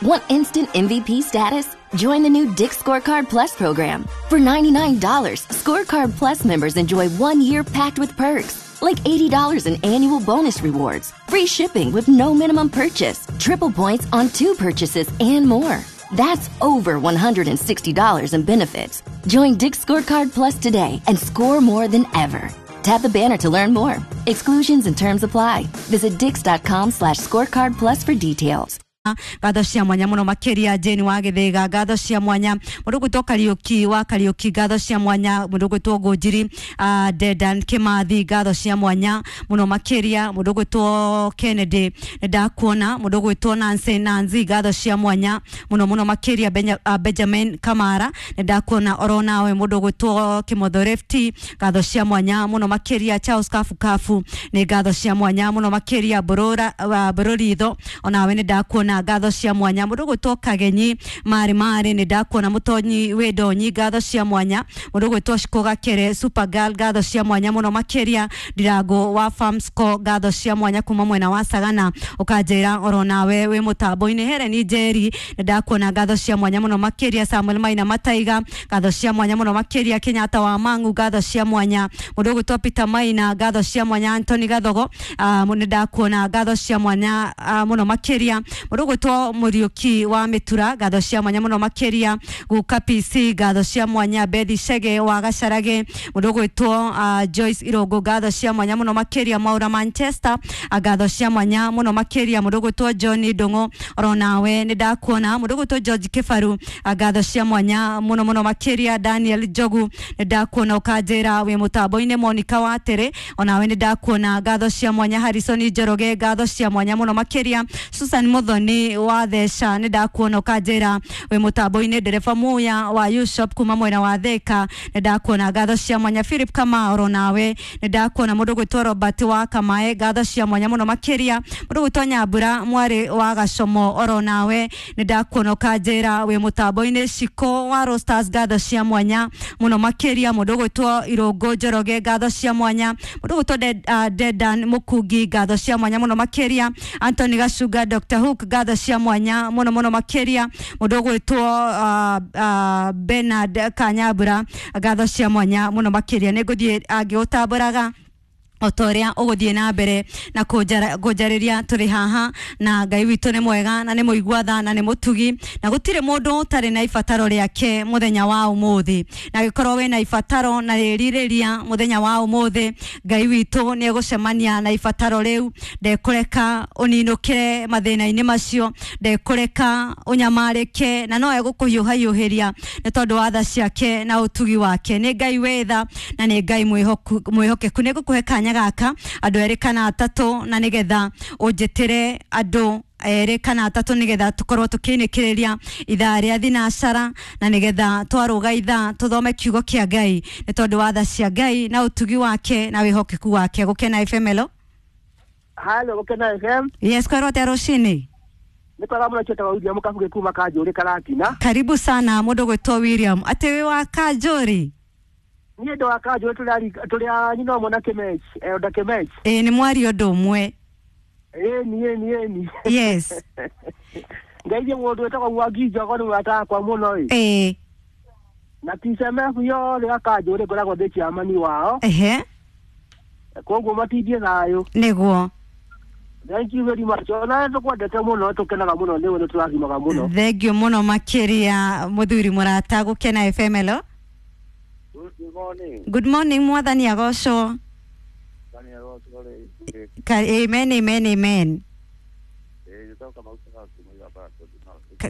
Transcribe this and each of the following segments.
Want instant MVP status? Join the new Dick's Scorecard Plus program. For $99, Scorecard Plus members enjoy 1 year packed with perks, like $80 in annual bonus rewards, free shipping with no minimum purchase, triple points on two purchases, and more. That's over $160 in benefits. Join Dick's Scorecard Plus today and score more than ever. Tap the banner to learn more. Exclusions and terms apply. Visit dicks.com/scorecard plus for details. Ngatho cia mwanya muno makiria Jane wa Githiga, ngatho cia mwanya mundu gwitwo Kariuki wa Kariuki, ngatho cia mwanya mundu gwitwo Ngũnjiri, Dedan Kimathi, ngatho cia mwanya muno makiria mundu gwitwo Kennedy, ndakuona mundu gwitwo Nancy Nancy, ngatho cia mwanya muno muno makiria Benjamin Kamara, ndakuona oro nawe mundu gwitwo Kimotho Lefty, ngatho cia mwanya muno makiria Charles Kafu Kafu, ni ngatho cia mwanya muno makiria Borora Bororitho, onawe ni ndakuona ngatho cia mwanya mundu gwitwo Kagenyi mari mari, ni ndakuona mutonyi wi ndonyi, ngatho cia mwanya mundu gwitwo Shiko Gakere Super Girl, ngatho cia mwanya muno makiria Ndirango wa Farmsco, ngatho cia mwanya kuma mwena wa Sagana, ukanjira oro nawe wi mutambo-ini. Helen Njeri, ni ndakuona, ngatho cia mwanya muno makiria Samuel Maina Mataiga, ngatho cia mwanya muno makiria Kenyatta wa Mangu, ngatho cia mwanya mundu gwitwo Peter Maina, ngatho cia mwanya Anthony Gathogo, ni ndakuona, ngatho cia mwanya muno makiria mundu gwitwo Muriuki wa Mitura, ngatho cia mwanya muno makiria Guka PC, ngatho cia mwanya Bethi Chege wa Gacarage, mundu gwitwo Joyce Irongo, ngatho cia mwanya muno makiria Maura Manchester, ngatho cia mwanya muno makiria mundu gwitwo John Ndungu, oro nawe ni ndakuona mundu gwitwo George Kibaru, ngatho cia mwanya muno muno makiria Daniel Njogu, ni ndakuona ukanjira wi mutambo-ini. Monica Watere, onawe ni ndakuona, ngatho cia mwanya Harrison Njoroge, ngatho cia mwanya muno makiria Susan Muthoni wa Thesha, ni ndakuona ukanjira wi mutambo-ini. Ndereba Muya wa U-Shop kuma mwena wa Thika, ni ndakuona, ngatho cia mwanya Philip Kamau, oro nawe ni ndakuona mundu gwitwo Robert wa Kamae, ngatho cia mwanya muno makiria mundu gwitwo Nyambura mwari wa Gacomo, oro nawe ni ndakuona ukanjira wi mutambo-ini. Shiko wa Rosters, ngatho cia mwanya muno makiria mundu gwitwo Irungu Njoroge, ngatho cia mwanya mundu gwitwo Dedan Mukungi, ngatho cia mwanya muno makiria Anthony Gacunga Dr Hook, ngatho cia mwanya muno muno makiria mundu gwitwo Bernard Kanyambura, ngatho cia mwanya muno makiria. Nĩ ngũthiĩ angĩũtambũraga o ta ũrĩa ũgũthiĩ na mbere na kũnjarĩria tũrĩ haha, na Ngai witũ nĩ mwega na nĩ mũigua tha na nĩ mũtugi, na gũtirĩ mũndũ ũtarĩ na ibataro rĩake mũthenya wa ũmũthĩ, na gĩkorwo wĩna ibataro na rĩrirĩria mũthenya wa ũmũthĩ, Ngai witũ nĩ egũcemania na ibataro rĩu, ndekũreka ũninũkĩre mathĩna-inĩ macio, ndekũreka ũnyamarĩke, na no egũkũhiũhahiũhĩria nĩ tondũ wa tha ciake na ũtugi wake. Nĩ Ngai wĩ tha na nĩ Ngai mwĩhokeku. Nĩ ngũkũhe kanya gaka andũ erĩ kana atatũ, na nĩgetha ũnjĩtĩre andũ erĩ kana atatũ, nĩgetha tũkorwo tũkĩinĩkĩrĩria ithaa rĩa thinacara, na nĩgetha twarũga ithaa tũthome kiugo kĩa Ngai nĩ tondũ wa tha cia Ngai na ũtugi wake na wĩhokeku wake. Gũkena FM, hello. Halo, Gũkena FM. Yes, kwĩrwo atĩa rũcinĩ? Nĩ kwega mũno, ciĩtagwo William Kabuge kuma Kanjũrĩ Karatina. Karibu sana mũndũ gwĩtwo William, atĩ wĩ wa Kanjũrĩ? Niĩ ndĩ wa Kanjũrĩ, tũrĩ a nyina ũmwe na Kĩmech, Elda Kĩmech. Ĩĩ, nĩ mwaria ũndũ ũmwe. Ĩni, ĩni, ĩni. Yes. Ngeithie mũndũ wĩtagwo Mwangi Njogo, nĩ mũrata wakwa mũno ĩ. Na TCMF yothe ya Kanjũrĩ ngoragwo ndĩ chairman wao. Koguo matindie thayũ. Nĩguo. Thank you very much. Ona tũkwendete mũno, tũkenaga mũno nĩwe, nĩ tũrathimaga mũno. Thengio mũno makĩria mũthuri mũrata. Gũkena FM, hello. Good morning. Good morning, mwathani agocwo. Amen, amen, amen.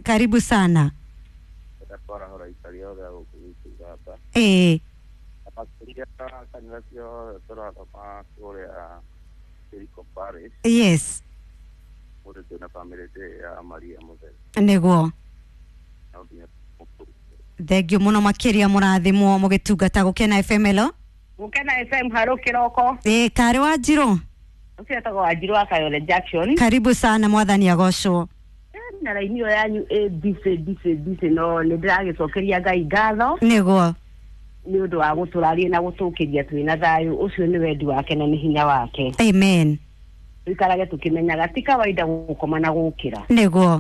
Karibu sana. Makĩria kanitha ciothe tũrathoma kũrĩa Jericho Parish. Mũndũ twĩna bamĩrĩ ya Maria Mũtheru. Nĩguo. No nginya tũmũkũrũkie. Thengio mũno makĩria, mũrathimwo mũgĩtungata. Gũkena FM, hello. Gũkena FM, harũ kĩroko. Ĩĩ, karĩ wa Njirũ. Ũcio etagwo Wanjirũ wa Kayole Junction. Karibu sana, mwathani agocwo. Na raini ĩyo yanyu ĩ busy busy busy, no nĩ ndĩragĩcokeria Ngai ngatho Nĩguo. Nĩ ũndũ wa gũtũraria na gũtũkĩria twĩna thayũ. Ũcio nĩ wendi wake na nĩ hinya wake. Amen. Tũikarage tũkĩmenyaga ti kawaida gũkoma na gũkĩra. Nĩguo.